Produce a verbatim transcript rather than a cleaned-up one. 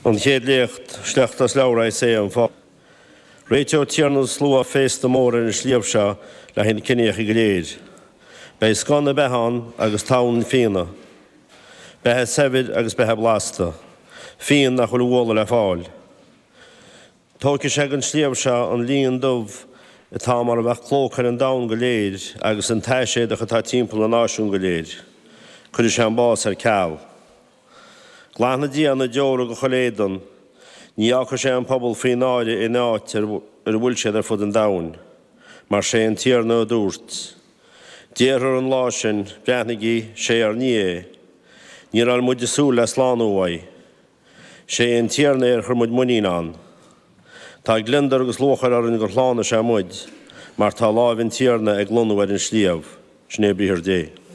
An chéad léacht, sliocht as leabhar Isaiah an fáidh. Réiteoidh Tiarna na Slua féasta mór ar an sliabh seo le haghaidh na ciníocha go léir. Beidh scoth na beatha ann agus tonn fíona. Beatha saibhir agus beatha blasta. Fíon nach bhfuil a bhualadh le fáil. Tógfaidh sé den sliabh seo an líon dubh atá mar a bheadh clóca ar an domhan go léir agus an t-aiséadach atá timpeall na náisiún go léir. Cuirfidh sé an bás ar ceal. Glanfaidh Dia na deora de chuile éadan, ní fhágfaidh sé an pobal faoi náire in áit ar a bhfuil siad ar fud an domhain, mar sé an Tiarna a dúirt. Déarfar an lá sin, Breathnaígí, sé ár nDia é. Ní raibh muid ag súil le slánú uaidh. Sé an Tiarna é ar chuir muid muinín ann. Tá gliondar agus lúcháir orainn gur shlánaigh sé muid, mar tá láimh an Tiarna ag lonnú ar an sliabh. Sin é briathar Dé.